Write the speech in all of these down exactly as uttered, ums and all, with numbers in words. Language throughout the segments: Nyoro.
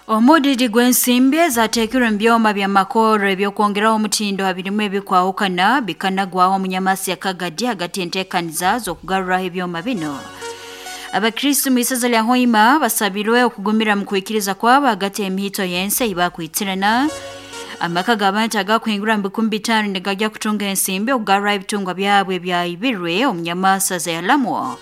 Omudidi gw'ensimbi ezateekirwe mu byoma bya makoro ebyokwongeraho omutindo habirimu ebikwahukana bikanagwaho omunyamasi ya Kagadi hagati y'enteekaniza z'okugaruraho ebyoma bino. Abakristo mu isaza lya Hoima basabirwe okugumira mu kwikiriza kwabo hagati y'emihito y'ensi ei bakwitirana. Amaka g'abantu agakuhingura mu bikumi bitaano nigajya kutunga ensimbi okugaruraho ebitungwa byabwe ebyayibirwe omunyamasa zayalamwo.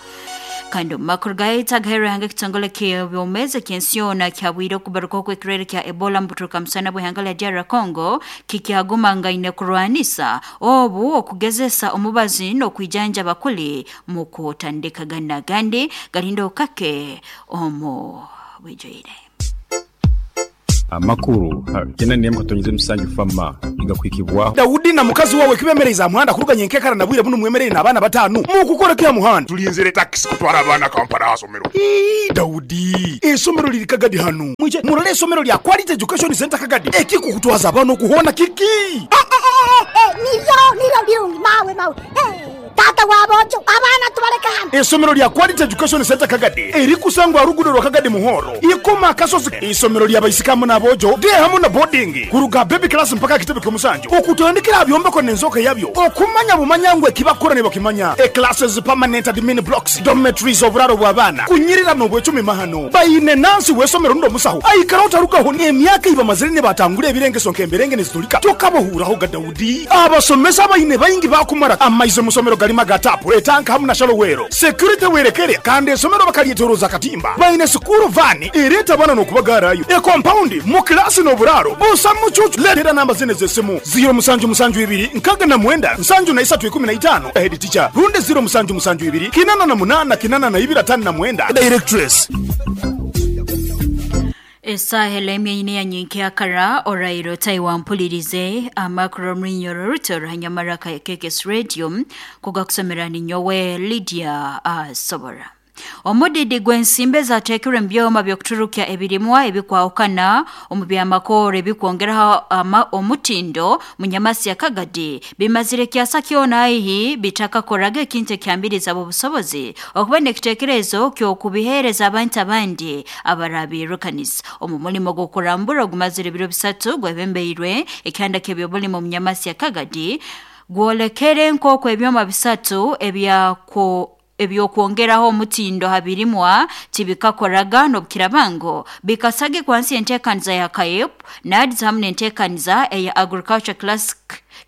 Kandi omu makuru gaitu agahereranga ekitongole ky'ebyomezi eky'ensi yoona kyabwire okubarukaho kw'ekirwaire kya Ebola mu buturuka musana bw'ihanga lya D R Congo kikyagumangaine kurwanisa obu okugezesa omubazi n'okwijanjaba kuli mu kutandikagana gandi galinda okake omu bwijwire. Amakuru kena niye mukatonyeze musanju fama igakwikibwa Daudi na mukazi wawe kibemereza muhanda kuruganya enkekara na bwire buno mwemerere n'abana batanu mukukora kya muhanda tulinzire taxi kutwara abana Kampala asomero. Ii Daudi esomero liri Kagadi hano mwije murole esomero lya Quality Education Center Kagadi ekikukutwaza abana okuhona kiki niyo niyo birungi mawe mawe tata wabojo abana tubaleka hano. Esomero lya Quality Education Center Kagadi erikusangwa rugudo rwa Kagadi Muhoro ikoma akasozi. Isomero lya baisikamu n'abojo de hamu na boarding kuruga baby class mpaka kitebe ky'omusanju okutandikira byombeko n'enzoka yabyo okumanya bumanyangwe kibakora ne bakimanya e classes permanent admin blocks dormitories oburaro bw'abana kunyirira n'obwecumi mahano bayine nansi wesomero ndo musaho aikara utarukaho emyaka iba mazire ne batangura ebirengeso nk'emberenge nezitulika tokabohuraho ga Daudi abasomesa bayine bayingi bakumara amaizo musomero galima gatapu etanka hamu na shalowero security werekere kandi esomero bakalietoroza katimba bayine sukuru vani ereta bana n'okubagarayo e compound mu klasi n'oburaro busa mucucu letera namba zine z'essimu zero musanju musanju ibiri nkaga na mwenda nsanju na isatu ikumi na itano head teacher runde zero musanju musanju ibiri kinana na munana kinana na ibiri atano na mwenda directress. Esahela emyenyine ya nyinkya orairo taiwampulirize amakuru mrinyoro ruto hanyamaraka ya K K S Radio kugakusomera ni nyowe Lydia Asobora. Omudidi gw'ensimbi zateekirwe mu byoma by'okuturukya ebirimwa ebikwahukana omu byamakoro ebikwongeraho omutindo mu nyamasi ya Kagadi bimazire kyasa kyona aihi bitakakoraga ekintu ekyambiriza obusobozi okuba n'ekiteekerezo ky'okubiheereza abantu abandi abarabirukanisa. Omu mulimo gw'okurambura ogumazire ebiro bisatu gwebembeirwe ekyanda ky'ebyobulimi mu nyamasi ya Kagadi gwolekere nk'oku ebyoma bisatu ebyako ebyokwongeraho omutindo habirimwa tibikakoraga n'obukirabango bikasage kwansi enteekaniza ya K A E P NAADS hamu n'enteekaniza eya Agriculture Classic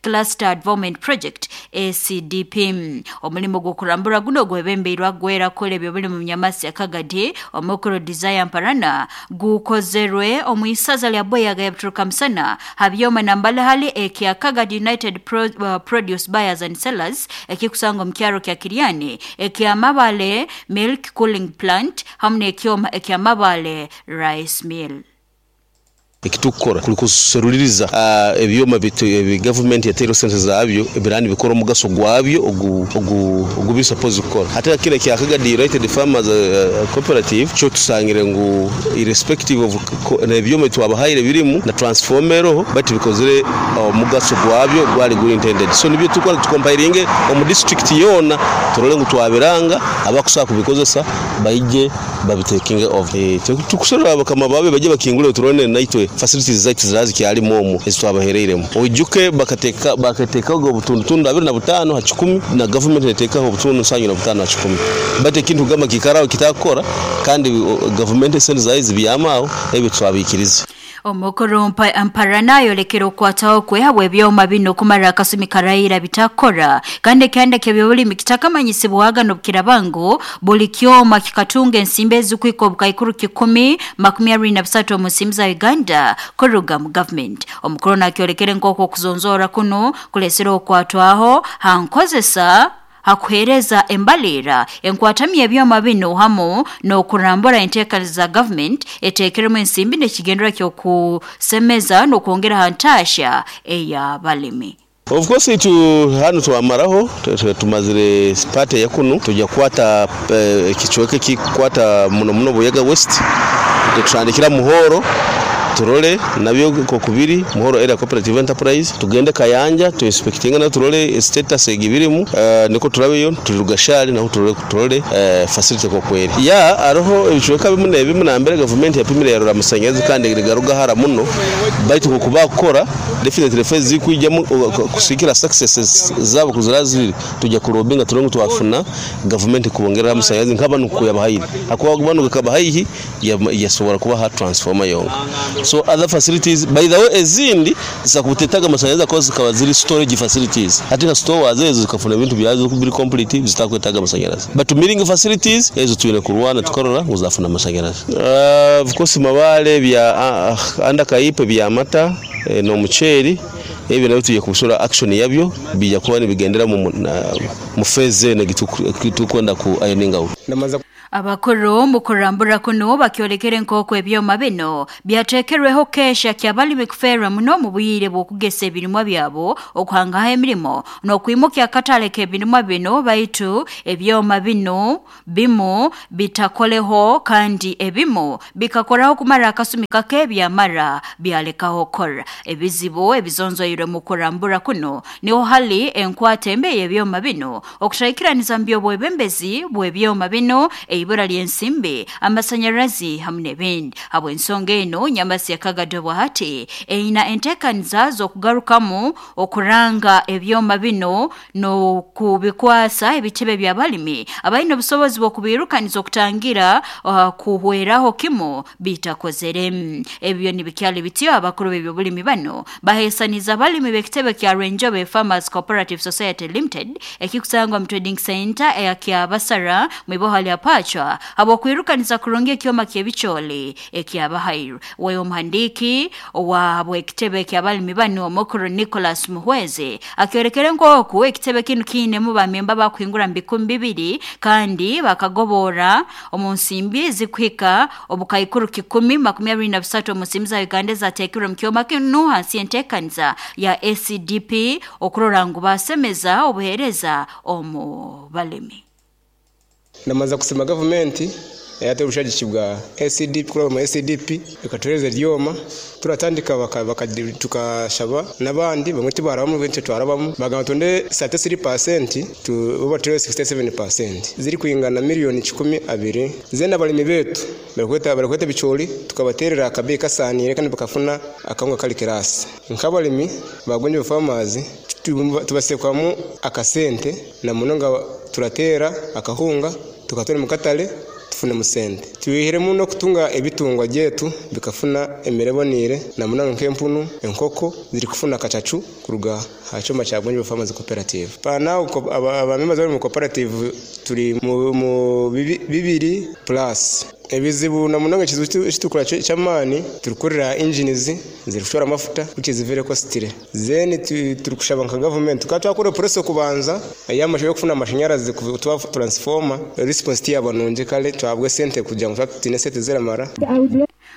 Cluster Development Project A C D P. Omulimo gw'okurambura guno gwebembeirwe gwera kola ebyobulimi mu nyamasi ya Kagadi omukuru Desire Mparana gukozerwe omu isaza lya Boyaga ya Musana habyoma nambalahali ekya Kagadi United Pro, uh, Produce Buyers and Sellers ekikusangwa mu kyaro kya Kiriani ekya Mabale Milk Cooling Plant hamu n'ekyoma ekya Mabale Rice Mill. Ekitukora kuli kuseruliriza uh, ebyoma bitu ebi government yatero sente zabyo ebirani bikora omugaso gwabyo ogu ogu ogu suppose gukora hata kile kya Kagadi United Farmers uh, Cooperative cyo tusangire ngu irrespective of ebyoma twabahaire birimu na transformero but bikozere omugaso uh, gwabyo gwali guri intended so nibyo tukora tukompiringe omu district yona turole ngu twabiranga abakusaka kubikozesa baije babitaking of e, tukuserura abakama babe baje bakingule turone naitwe facilities zaitu zirazi kyalimu omwo ezitwabahereiremu oijuke bakateka bakateka ogo butundu tundu abiri na butano ha kikumi na government etekaho obutundu nsanyu na butano ha kikumi but ekintu gamba kikarao kitakora kandi government sente zaizi byamao ebyo twabikiriza. Omukuru Mparana yolekera okwataho kwe habwe ebyoma bino kumara akasumi karayira bitakora kandi kyanda ky'ebyobulimi kitakamanyisibwaga n'obukirabango buli kyoma kikatunga ensimbi ezikwika obukaikuru kikumi makumi abiri na busatu omu nsimbi za Uganda kuruga mu government. Omukuru nakyolekere nk'oku okuzonzora kuno kulesera okwatwaho hankozesa hakuhereza embalira enkwatamye ebyoma bino hamu n'okurambura enteekaniza za government eteekeremu ensimbi n'ekigendera ky'okusemeza n'okwongera ha ntaasha ey'abalimi. Of course itu hano twamaraho tumazire part ya kunu tujya kwata ekichweke kikwata muno muno Buyaga West tutandikira Muhoro turole nabyo kokubiri Muhoro Area Cooperative Enterprise, tugende Kayanja tu inspectinga na turole status egibirimu, uh, niko turabeyo turi Rugashari naho turole turole uh, facility kokweri ya aroho ebicweka bimu nebimu nambere government yapimire yarora amasanyarazi kandi rigaruga hara muno, baitu kuba kukora definitely phase zikwijyamu kusikira successes zabo kuziraziri tujya kurobinga turongo twafuna government kubongerera amasanyarazi nk'abantu kuyabahayiri akuba bano kabahaihi yasobora kuba ha transformer yonka. So other facilities by the way ezindi zakutetaga amasanyarazi akoze zikaba ziri storage facilities, ati stores ezo zikafuna ebintu byazo biri complete zitakwetaga amasanyarazi, but milling facilities ezo twine kurwana tukarora nguzafuna amasanyarazi. Uh, of course Mabale bya uh, anda Kaipe bya mata eh, no muceri ebyo nabyo tugiye kubusura action yabyo bijya kuba nibigendera mu mu phase ne gitukwenda ku ironing out. Abakuru mu kurambura kuno bakyolekere nk'oku ebyoma bino byateekerweho kesha kyabalimi kufeerwa muno mu bwire bw'okugesa ebirimwa byabo, okuhangaho emirimo n'okwimuka akatale k'ebirimwa bino, baitu ebyoma bino bimu bitakoleho kandi ebimu bikakoraho kumara akasumi kake byamara byalekaho kora. Ebizibu ebizonzoirwe mu kurambura kuno niho hali enkwata embe y'ebyoma bino, okutayikiraniza mu by'obwebembezi bw'ebyoma bino, ibura ly'ensimbi, amasanyarazi hamwe n'ebindi. Habw'ensonga eno Nyamasi ya Kagadi hati eina enteekaniza z'okugarukamu okuranga ebyoma bino n'okubikwasa ebitebe by'abalimi abalina obusobozi bw'okubirukaniza okutangira uh, kuhweraho kimu bitakozere. Ebyo nibikyali bityo abakuru b'ebyobulimi bano bahesaniza abalimi b'ekitebe kya Rwenjobe Farmers Cooperative Society Limited ekikusangwa mu Trading Center eya Kyabasara mu iboha lya Pacho abo kwirukaniza kurungi ekyoma ky'ebicholi ekyabahairu. Wewe omuhandiki wa bwekitebe ky'abalimi bano Mukuru Nicholas Muhweze akyorekere nk'oku ekitebe kinu kiinemu bamemba bakuhingura mu bikumi bibiri kandi bakagobora omu nsimbi zikuhika obukaikuru kikumi makumi abiri na busatu omu nsimbi za Uganda zateekirwe mu kyoma kinu hansi y'enteekaniza ya A C D P okurora ngu basemeza obuheereza omu balimi. Namaza kusema government yate obushagiki bwa A C D P kuraba mu A C D P ikatuhereza ryoma turatandika baka tukashaba nabandi bamwe tibarabamu benshi twarabamu bagamba tonde thirty-three percent tu oba sixty-seven percent ziri kuingana miliyoni kikumi abiri zena balimi betu barakweta barakweta bicholi tukabaterera akabe kasanire kandi bakafuna akangwa kali kirasi nkabalimi bagonje farmers tubasekwamu akasente na munonga turatera akahunga tukatora mukatale tufune musente tuwihiremu no kutunga ebitungwa gyetu bikafuna emirebonire na munonga nk'empunu enkoko ziri kufuna kacacu kuruga ha cyoma cya Gonjo Farmers Cooperative. Pana abamemba bari mu cooperative turi mu bibiri plus ebizibu na munonga kizibu cyamani turukurira engines zirushora amafuta which is very costly then turukushaba nka government tukatwakora process kubanza ayamasho yo kufuna amashanyarazi kutuwa transformer response yabanonje kale twabwe sente kugira ngo tutine sente ziramara.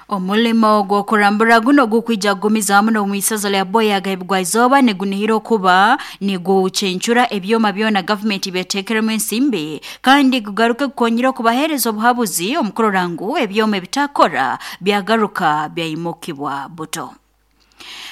Omulimo gw'okurambura guno gukwija gumiza muno mu isaza lya Boya gahibwa izoba nigunihira kuba nigucencura ebyoma byona government byatekeremu ensimbi kandi gugaruke kukonyera kubahereza obuhabuzi omukurorangu ebyoma ebitakora byagaruka byayimukibwa buto.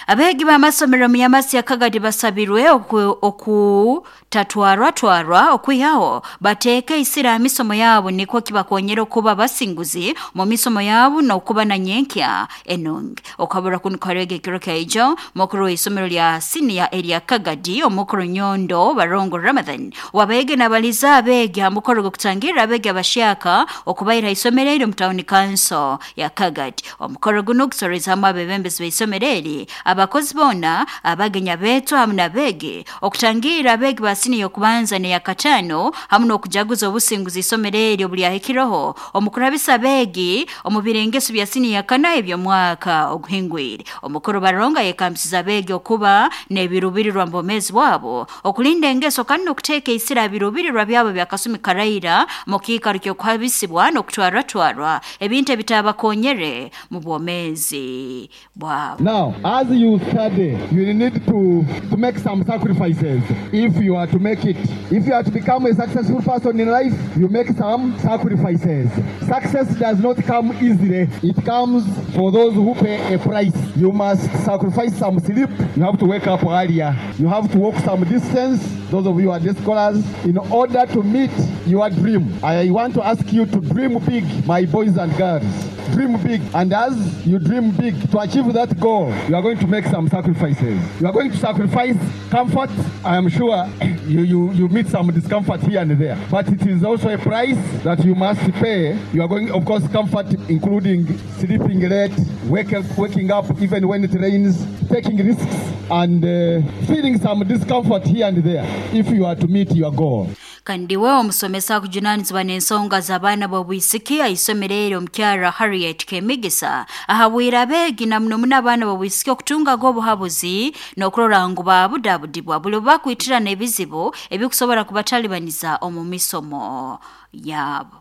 Abegi b'amasomero mu Nyamasi ya Kagadi basabirwe oku tatwarwa twarwa okwihaho bateeke isira misomo yabo niko kibakonyera okuba basinguzi mu misomo yabo n'okuba na nyenkya enungi. Okabura kuno karege kiro kaijo mukuru w'isomero lya senior area Kagadi omukuru Nyondo Barongo Ramadhan wabege nabaliza abegi ha mukoro gwokutangira abegi abashaka okubaira isomero eri mu town council ya Kagadi. Omukoro guno gusoreza hamwe abebembezi b'isomero eri abakozi bona abagenya betu hamwe nabege okutangira abegi basini yokubanza ne yakatano hamwe nokujaguza obusinguzi isomero eri obulyahikiroho omukurabisa abegi omubirengeso bya sini yakana ebyo mwaka oguhingwire. Omukuru Baronga yekambisiza abegi okuba nebirubirirwa mbomezi wabo okulinda engeso kandi nokuteeka isira birubirirwa byabo byakasumi karaira mu kiikaro ky'okuhabisibwa n'okutwarwatwarwa ebintu ebitabakonyere mu bwomezi bwabo. Now As you study, you need to, to make some sacrifices if you are to make it. If you are to become a successful person in life, you make some sacrifices. Success does not come easily. It comes for those who pay a price. You must sacrifice some sleep. You have to wake up earlier. You have to walk some distance, those of you who are day scholars, in order to meet your dream. I want to ask you to dream big, my boys and girls. Dream big, and as you dream big, to achieve that goal, you are going to make some sacrifices. You are going to sacrifice comfort. I am sure you, you, you meet some discomfort here and there, but it is also a price that you must pay. You are going, of course, comfort including sleeping late, wake up, waking up even when it rains, taking risks, and uh, feeling some discomfort here and there if you are to meet your goal. Kandi we omusomesa akujunanizibwa n'ensonga z'abaana b'obwisiki aisomero eryo omukyara Harriet Kemigisa ahabwire abeegi na muno muno abaana b'obwisiki okutungaga obuhabuzi n'okurora ngu baabudabudibwa buli bakwitirana ebizibu ebikusobora kubatalibaniza omu misomo yaabo.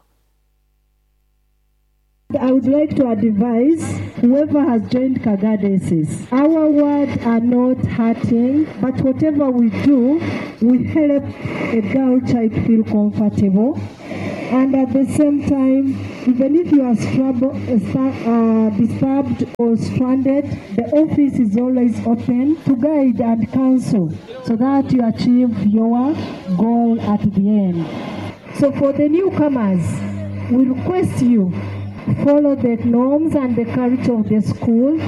I would like to advise whoever has joined Kagadi S S. Our words are not hurting, but whatever we do, we help a girl child feel comfortable. And at the same time, even if you are struggle, uh, disturbed or stranded, the office is always open to guide and counsel so that you achieve your goal at the end. So for the newcomers, we request you follow the norms and the culture of the school,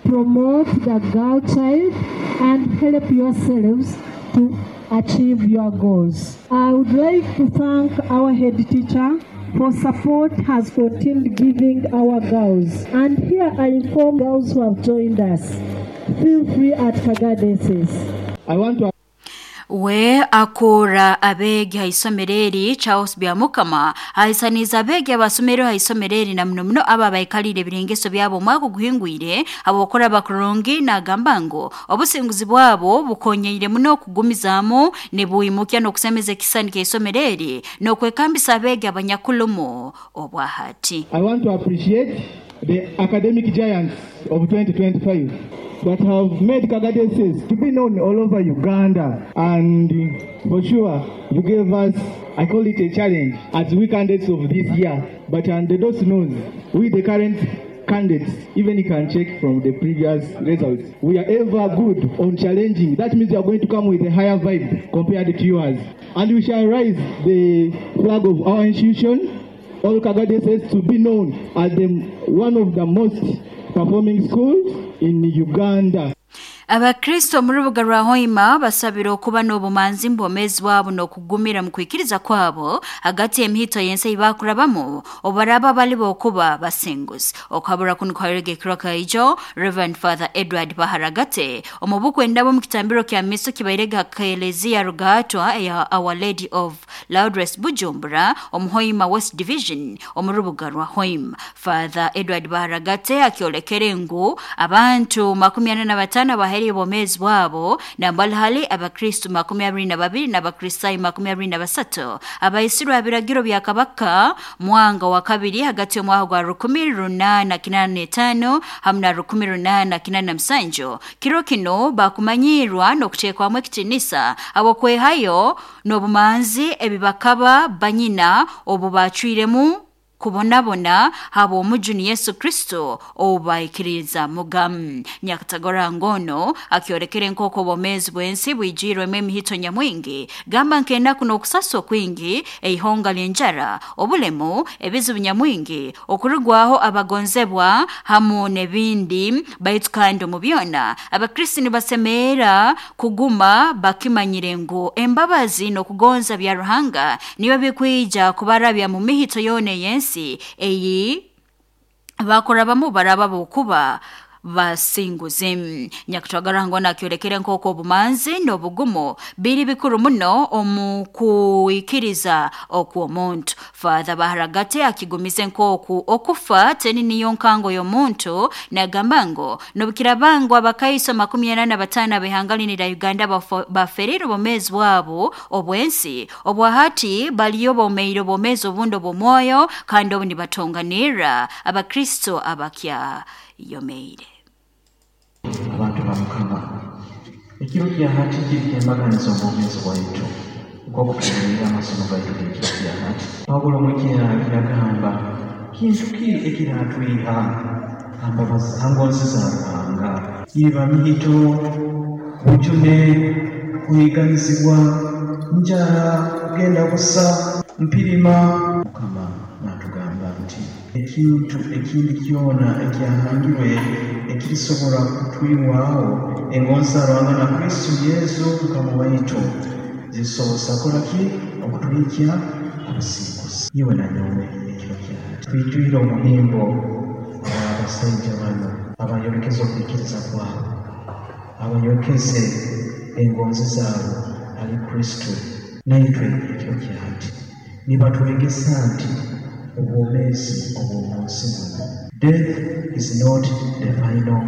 promote the girl child, and help yourselves to achieve your goals. I would like to thank our head teacher for support has continued giving our girls. And here I inform girls who have joined us, feel free at Kagadi S S. I want to We akora abegi haisomero eri Charles Byamukama ahisaniza abegi abasomero haisomero eri na muno muno aba baikalire ebirengeso byabo omwaka guhingwire abokora bakurungi nagamba ngu obusinguzi bwabo bukonyeire muno okugumizaamu nibuyimukya n'okusemeza ekisani ky'eisomero eri n'okwekambisa abegi abanyakulumu obwahati. I want to appreciate the academic giants of twenty twenty-five that have made Kagadi S S to be known all over Uganda. And for sure, you gave us, I call it a challenge, as we candidates of this year. But and those knows, we the current candidates, even you can check from the previous results, we are ever good on challenging. That means we are going to come with a higher vibe compared to yours. And we shall raise the flag of our institution, all Kagadi S S, to be known as the, one of the most performing schools in Uganda. Abakristo mu rubuga rwa Hoima basabira okuba n'obumanzi mbomezi bwabo n'okugumira mu kwikiriza kwabo hagati y'emihito y'ensi eyibakurabamu obaraba bali bokuba basinguzi. Okabura kuno kwaregekirwa kaijo Reverend Father Edward Baharagate omubuku endabo mu kitambiro kya miso kibairega Kelezia Rugatwa eya Our Lady of Lourdes Bujumbura omu Hoima West Division omu rubuga rwa Hoima. Father Edward Baharagate akiolekere ngu abantu makumi ana na batano baheri bomezi bwabo na mbalhali abakristu makumi abiri na babiri n'abakristayo makumi abiri na basatu abaisirwa abiragiro bya Kabaka Mwanga wa kabiri hagati y'omwaka gwa rukumi runana kinana n'etaano hamwe na rukumi runana kinana na musanju. Kiro kino bakumanyirwa n'okuteekwamu ekitinisa abokwehayo n'obumanzi ebibakaba banyina obu bacwiremu kubonabona habo omujuni Yesu Kristo obaikiriza mugamu. Nyakatagora ngono akiorekere nkoko bomezi bwensi bwijirwemu emihito nyamwingi gamba nkenaku n'okusaswa kwingi eihonga ly'enjara obulemu ebizibu nyamwingi okurugwaho abagonzebwa hamu n'ebindi baitu kandi omu byona abakristo nibasemeera kuguma bakimanyire ngu embabazi n'okugonza bya Ruhanga niyo bikwija kubarabya mu mihito yona ey'ensi eyi bakorabamu baraba bokuba basinguzi. Nyakutwagara ngona akiolekere nkoko obumanzi n'obugumu biri bikuru muno omu kuikiriza okw'omuntu. Father Baharagate akigumize nkoku okufa teni niyo nkango y'omuntu nagamba ngo nobukirabango abakaiso makumi ana na batano abehangalini la Uganda baferire obomezi bwabo obwensi obwahati baliyo bomeire obomezi obundi obw'omwoyo kandi obu nibatonganira abakristo abakya yomeire. Abantu ba Mukama, ekiro kya hati kiri kyembaganiza obwomeezi bwaitu nk'okutuulira amasomo gaitu g'ekiro kya hati. Pawulo mwekiyagamba kintu ki ekiratwiha hangonzi za Ruhanga? Iba mihito, bujune, kuhiganizibwa, njara, kugenda busa, mpirima. Mukama natugamba nti ekintu ekindi kyona ekyahangirwe ekirisobola kutwiwaho engonzi za Ruhanga na Kristo Yesu Mukama waitu zisobosa kola ki okutuhikya abasinguzi. Iwe na nyowe ekiro kyahati twijwire omuhimbo abasaija bano abayolekeze okwikiriza kwabo, abayolekeze engonzi zaabo ali Kristo. Naitwe ekiro kyahati nibatwegesa nti obwomeezi obw'omunsi muno, death is not the final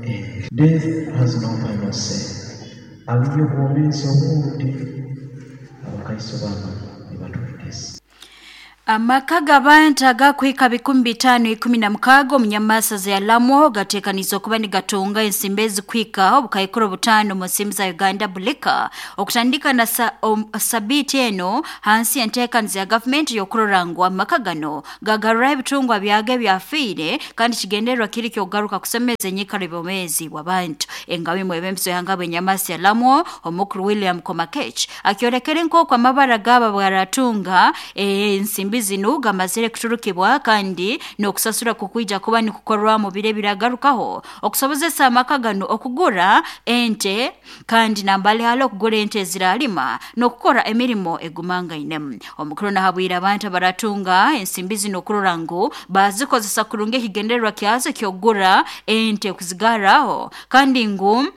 end. Death has no final say. Aliyo obwomeezi obundi abakaiso bano nibatwegesa. Amaka g'abantu agakwika bikumi bitaano ikumi na mukaaga omunyamasa za Lamwo gateekaniza okuba nigatunga ensimbi ezikwika obukaikuru butaano mu nsimbi za Uganda bulika okutandika na sa, um, sabiiti eno hansi enteekaniza ya gavumenti y'okurora ngu amaka gano gagarura ebitungwa byago ebyafiire kandi kigendererwa kiri ky'okugaruka kusemeza enyikara ebyomeezi bw'abantu. Engabi mwebembezi w'ihanga bw'enyamasa ya Lamwo omukuru William Komakech akyolekere nk'oku amabara g'aba bwaratunga ensimbi zino gamazire kuturukibwa kandi n'okusasura kukwija kuba nikukorwa mu bire biragarukaho okusobozesa amaka gano okugura ente kandi nambali halo okugura ente eziralima n'okukora emirimo egumangainemu. Omukuru nahabwira abantu abaratunga ensimbi zino okurora ngu bazikozesa kurungi ekigendererwa kyazo ky'okugura ente kuzigaraho kandi ngu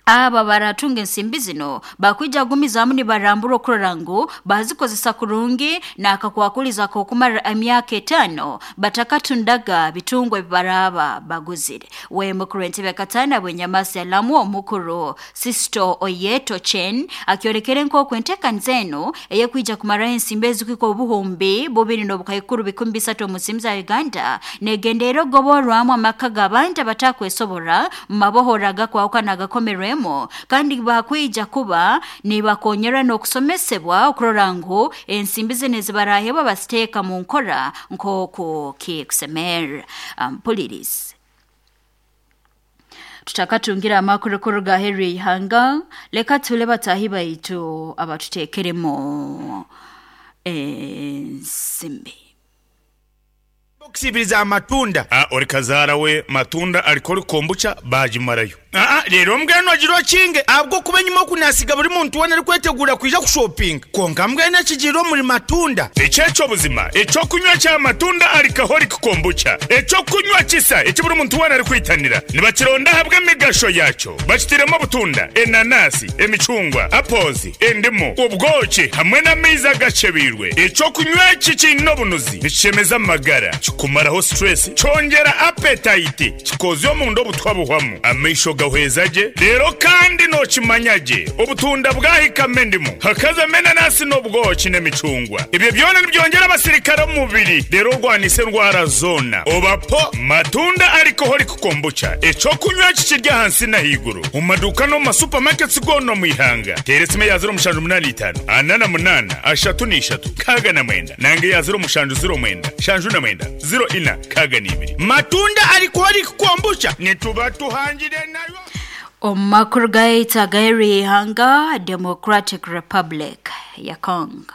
aba baratunga ensimbi zino bakwija gumizamu nibarambura okurora ngu bazikozesa kurungi n'akakwakuliza k'okumara emyaka etaano batakatundaga bitungwa ebibaraba baguzire. We mukuru w'entebe katana bw'enyamasi ya Lamwo omukuru Sisto Oyeto Chen akyolekere nk'oku enteekaniza eno eyekwija kumaraho ensimbi ezikwika obuhumbi bubiri n'obukaikuru bikumi bisatu omu nsimbi za Uganda negendeera okugoborwamu amaka g'abantu abatakwesobora mu mabohoro agakwahukana agakomerwemu kandi bakwija kuba nibakonyera n'okusomesebwa okurora ngu ensimbi zino ezibarahebwa baziteeka mu nkora nk'oku kikusemera. Mpulirize tutakatungira amakuru kuruga aheeru y'ihanga, leka tule batahi baitu abatuteekeremu ensimbi. Okusibiriza amatunda. Ah, ori kazara we matunda alikori kombucha bajimarayo. Ah, rero mbwenu agiro kinge abwo kuba nyuma okunasiga buri muntu wena ari kwetegura kwija kushopping. Konka mbwenu ekigiro muri matunda. Ekyecho buzima, ekyo kunywa kya matunda alikahori kombucha. Ekyo kunywa kisa eki buri muntu wena ari kwitanira. Nibakironda habwe emigasho yakyo. Bakitiremo obutunda, enanasi, emicungwa, apozi, endimu, ubwoki hamwe n'amaizi agacebirwe. Ekyo kunywa eki kiine obunuzi, nikishemeza amagara, kikumaraho stress, kyongera appetite, kikozya omunda obutwa buhwamu, amaisho gahwezaje, rero kandi nokimanyage obutunda bwahikamo endimu, hakazamo enanasi n'obwoki n'emicungwa. Ebyo byona nibyongera abasirikare omu mubiri, rero orwanise endwara zona. Obapo matunda alcoholic kombucha, ekyokunywa kikirya ahansi n'ahaiguru, omu maduuka n'omu masupamaketi goona omu ihanga. Teera esimu eya ziro mushanju munaana itaano, ana na munaana, ashatu n'ishatu, nkaaga na mwenda, nange eya ziro mushanju ziro mwenda, shanju na mwenda, ziro ina, nkaaga n'ibiri. Matunda alcoholic kombucha nituba tuhangire nayo. Omu makuru gaitu ag'aheeru y'ihanga, Democratic Republic ya Congo.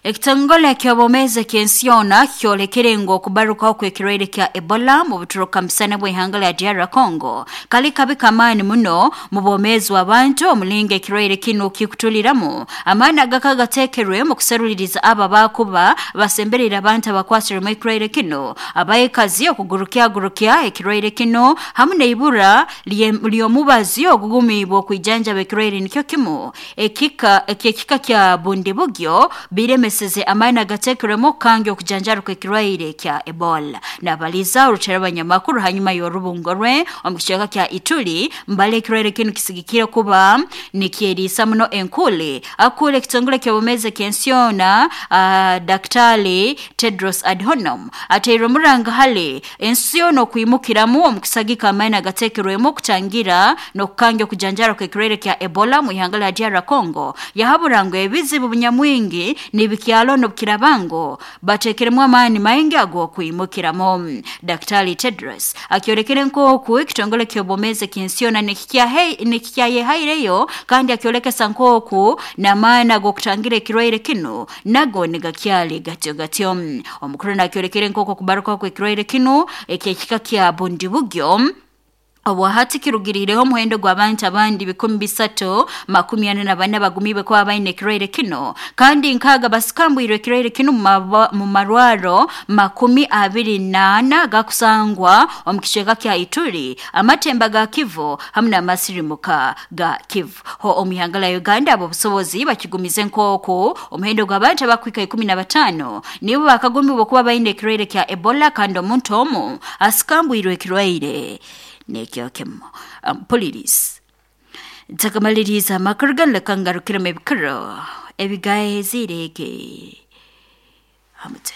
Ekitongole ky'obwomeezi ky'ensi yoona kyolekere ngu okubarukaho kw'ekirwaire kya Ebola mu buturuka musana bw'ihanga lya D R Congo kali kabi kamaani muno mu bwomeezi bw'abantu omulingo ekirwaire kinu kikutuliramu. Amaani agaka gateekerwe mu kuseruliriza abo abakuba basemberera abantu abakwasirwemu ekirwaire kinu, abaikazi okugurukyagurukya ekirwaire kinu hamu n'eibura ly'omubazi ogugumiibwe okwijanjaba ekirwaire nikyo kimu ekika eky'ekika kya Bundibugyo bireme Asemeseze amaani agateekerwemu okukanga okujanjaruka ekirwaire kya Ebola. Nabaliza orutera abanyamakuru hanyuma y'orubungo rwe omu kicweka kya Ituri mbale ekirwaire kinu kisigikire kuba nikyeriisa muno enkule. Akule ekitongole ky'obumeze ky'ensi yoona uh, Daktari Tedros Adhanom ateire omuranga hale ensi yoona okwimukiramu omu kusagika amaani agateekerwemu okutangira n'okukanga okujanjara kw'ekirwaire kya Ebola mu ihanga lya D R Congo. Yahabura ngu ebizibu bunyamwingi nibikyalo n'obukirabango bateekeremu amaani maingi ag'okwimukiramu. Daktari Tedros akyorekere nk'oku ekitongole ky'obwomezi ky'ensi yoona nikikyayehaireyo kandi akyolekesa nk'oku n'amaani ag'okutangira ekirwaire kinu nago nigakyali gatyo gatyo. Omukuru nakyorekere nk'oku okubaruka kw'ekirwaire kinu eky'ekika kya Bundibugyo obwahati kirugirireho omuhendo gw'abantu abandi bikumi bisatu makumi ana na bana bagumiibwe kuba baine ekirwaire kino kandi nkaaga basikambwirwe ekirwaire kino mu marwaro makumi abiri n'ana gakusangwa omu kicweka kya Ituri, amatemba ga Kivu hamwe n'amasirimuka ga Kivu. Ho omu ihanga lya Uganda abo obusobozi bakigumize nk'oku omuhendo gw'abantu abakwika ikumi na bataano nibo bakagumiibwe kuba baine ekirwaire kya Ebola kandi omuntu omu asikambwirwe ekirwaire nekyo kemo. um, Polisi ntakamaliriza amakuru gano leka ngarukiremu ebikiro ebigahezireke hamute.